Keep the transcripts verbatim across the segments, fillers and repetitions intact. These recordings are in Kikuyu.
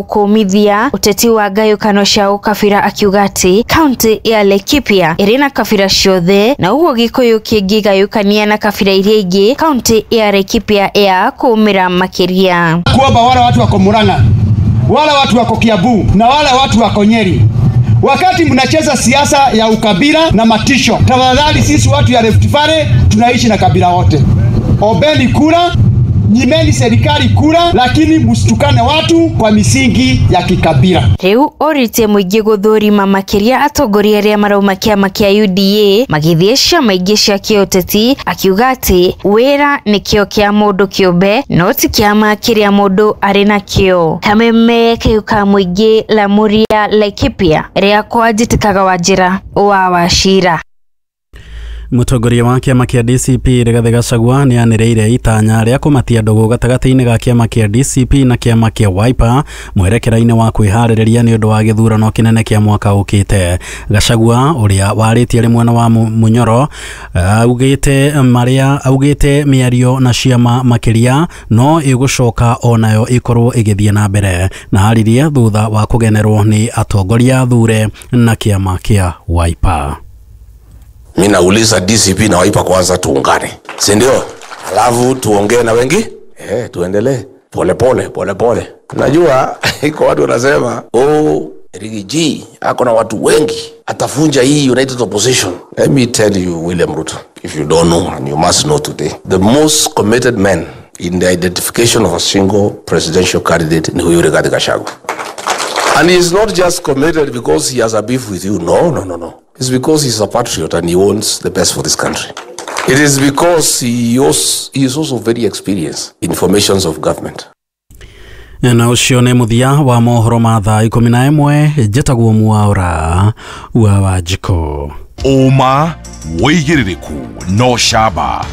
Kũmithia ũteti wa ngayũkano cia ũkabira, akiuga atĩ kaunti ya Laikipia ĩrĩ na kabira ciothe na ũguo Gĩkũyũ kĩngĩgayũkania na kabira iria ingĩ, kaunti ya Laikipia ya kũmĩra makĩria. Kuomba wale watu wako Murang'a, wale watu wako Kiambu na wale watu wako Nyeri, wakati mnacheza siasa ya ukabila na matisho, tafadhali, sisi watu ya Rift Valley tunaishi na kabila wote. Ombeni kura, nyimeni serikali kura, lakini msitukane watu kwa misingi ya kikabila. Rĩu orĩtie mũingĩ gũthũrima makĩria atongoria arĩa marauma kĩama kĩa U D A magĩthiĩ ciama ingĩ cia kĩũteti, akiuga atĩ wĩra nĩ kĩo kĩa mũndũ kĩũmbe no ti kĩama kĩrĩa mũndũ arĩ nakĩo. Kameme kayũ ka mũingĩ Lamuria Laikipia, rĩakwa njĩtĩkaga Wanjĩra wa Wachira. Mũtongoria wa kĩama kĩa D C P Rigathĩ Gachagua nĩ anĩrĩire itanya rĩa kũmatia ndũgũ gatagatĩ-inĩ ga kĩama kĩa D C P na kĩama kĩa Wiper mwerekera-inĩ wa kwĩharĩrĩria nĩ ũndũ wa gĩthurano kĩnene kĩa mwaka ũkĩte. Gachagua, ũrĩa warĩtie arĩ mwena wa Munyoro, augĩte marĩa augĩte mĩario na ciama makĩria no ĩgũcoka onayo ĩkorwo ĩgĩthiĩ na mbere, na aririe thutha wa kũgenerwo nĩ atongoria athure na kĩama kĩa Wiper. Mi nauliza D C P na Wiper kwanza tuungane, si ndio? Alafu tuongee na wengi eh, tuendelee pole pole pole pole. Najua iko watu wanasema, "Oh, Riggy G ako na watu wengi, atavunja hii united opposition." Let me tell you, William Ruto, if you don't know, and you must know today, the most committed man in the identification of a single presidential candidate ni huyu Rigathi Gachagua. And he is not just committed because he has a beef with you. No, no, no, no. It's because he's a patriot and he wants the best for this country. It is because he, also, he is also very experienced in formations of government. Na ũcio nĩ mũthia wa mohoro ma thaa ikũmi na ĩmwe. Njĩtagwo Mwaũra wa Wanjikũ. Ũma, wĩigĩrĩrĩku no camba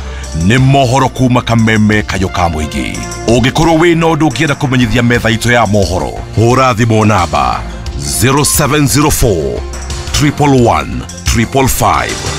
nĩ mohoro kuma kameme kayũ ka mũingĩ. Ũngĩkorwo wĩna ũndũ ũngĩenda kũmenyithia metha itũ ya mohoro, hũra thimũ namba zero seven zero four triple one triple five.